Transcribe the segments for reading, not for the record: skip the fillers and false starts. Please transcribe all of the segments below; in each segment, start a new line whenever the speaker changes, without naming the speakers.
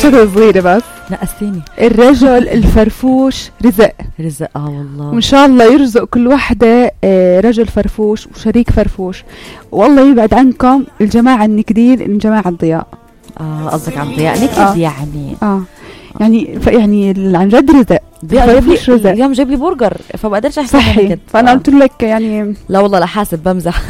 شغلة صغيرة بس
نقصيني.
الرجل الفرفوش رزق
والله،
وإن شاء الله يرزق كل وحدة رجل فرفوش وشريك فرفوش. والله يبعد عنكم الجماعة النكدين من جماعة الضياء.
قصدك عن ضياء نكد يعني.
يعني عن جد رزق.
اليوم جاب لي برجر فبقدرش احكي
صحي. فانا قلت لك يعني
لا والله لا حاسب بمزح.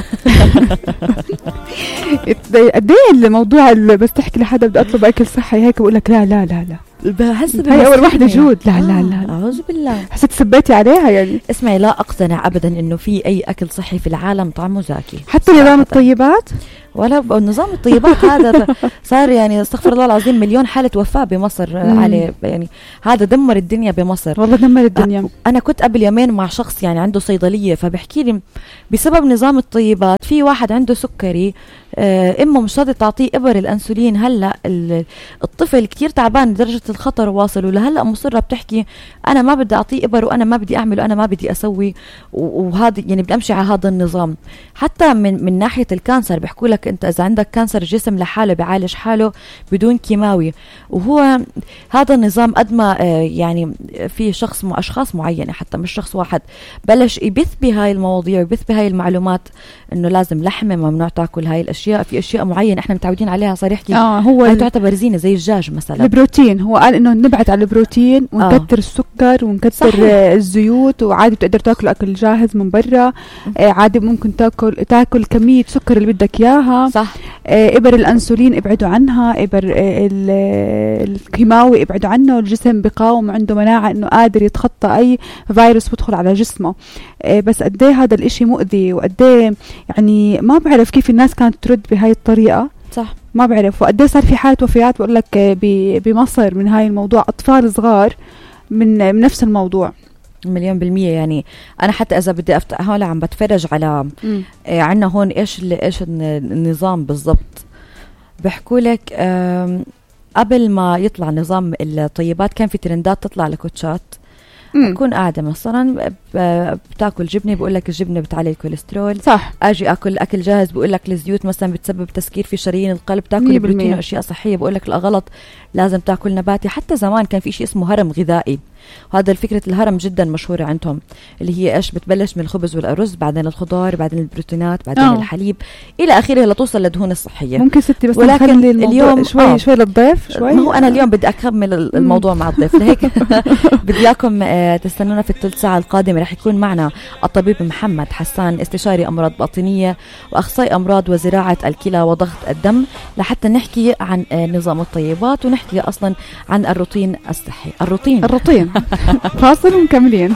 قد ايه الموضوع اللي بس تحكي لحدا بدي اطلب اكل صحي هيك بقول لك لا لا لا لا
بحس
هي اول وحده جود. لا لا لا
اعوذ بالله.
حسيت سبيتي عليها يعني.
اسمعي، لا اقتنع ابدا انه في اي اكل صحي في العالم طعمه زاكي،
حتى نظام الطيبات
ولا نظام الطيبات هذا صار يعني استغفر الله العظيم مليون حالة وفاة بمصر عليه، يعني هذا دمر الدنيا بمصر
والله، دمر الدنيا.
أنا كنت قبل يومين مع شخص يعني عنده صيدلية، فبحكي لي بسبب نظام الطيبات في واحد عنده سكري، إمه مش راضي تعطيه إبر الأنسولين. هلأ الطفل كتير تعبان درجة الخطر واصل، ولهلأ مصرة بتحكي أنا ما بدي أعطيه إبر وأنا ما بدي أعمل وأنا ما بدي أسوي، وهذا يعني بدي أمشي على هذا النظام. حتى من ناحية الكانسر بيحكوا لك أنت إذا عندك كانسر الجسم لحاله بيعالج حاله بدون كيماوي، وهو هذا النظام قد ما يعني في أشخاص معينة حتى مش شخص واحد بلش يبث بهاي المواضيع ويبث بهاي المعلومات إنه لازم لحمة ممنوع تاكل هاي الأشياء. في أشياء معينة إحنا متعودين عليها صار يحكي هو تعتبر زينة زي الدجاج مثلا.
البروتين هو قال إنه نبعد على البروتين ونكتر السكر ونكتر الزيوت، وعادي بتقدر تاكل أكل جاهز من برا، عادي ممكن تاكل كمية سكر اللي بدك إياها.
صح.
إبر الأنسولين ابعدوا عنها، إبر الكيماوي ابعدوا عنه. الجسم بقاوم وعنده مناعة إنه قادر يتخطى أي فيروس بدخل على جسمه. بس قديه هذا الإشي مؤذي، وقديه يعني ما بعرف كيف الناس كانت ترد بهاي الطريقة.
صح،
ما بعرف. وقديه صار في حالة وفيات بقول لك بمصر من هاي الموضوع، أطفال صغار من نفس الموضوع.
100%. يعني أنا حتى إذا بدي أفتح هون عم بتفرج على عنا هون إيش النظام بالضبط. بحكوا لك قبل ما يطلع نظام الطيبات كان في ترندات تطلع لكوتشات. أكون قاعدة مثلا بتاكل جبنة بقول لك الجبنة بتعلي الكوليسترول.
صح.
أجي أكل أكل جاهز بقول لك الزيوت مثلا بتسبب تسكير في شرايين القلب. تاكل بروتين وأشياء صحية بقول لك لا غلط، لازم تاكل نباتي. حتى زمان كان في شيء اسمه هرم غذائي، وهذا الفكرة الهرم جدا مشهورة عندهم، اللي هي إيش بتبلش من الخبز والأرز، بعدين الخضار، بعدين البروتينات، بعدين الحليب إلى آخره لتوصل للدهون الصحية.
ممكن ستي بس
ولكن
اليوم شوي للضيف شوي.
ما هو أنا اليوم بدي أكمل الموضوع مع الضيف، لهيك بدي إياكم تستنونا في الثلث ساعة القادمة. رح يكون معنا الطبيب محمد حسان، استشاري أمراض باطنية وأخصائي أمراض وزراعة الكلى وضغط الدم، لحتى نحكي عن نظام الطيبات ونحكي أصلا عن الروتين الصحي. الروتين
فاصل ومكملين.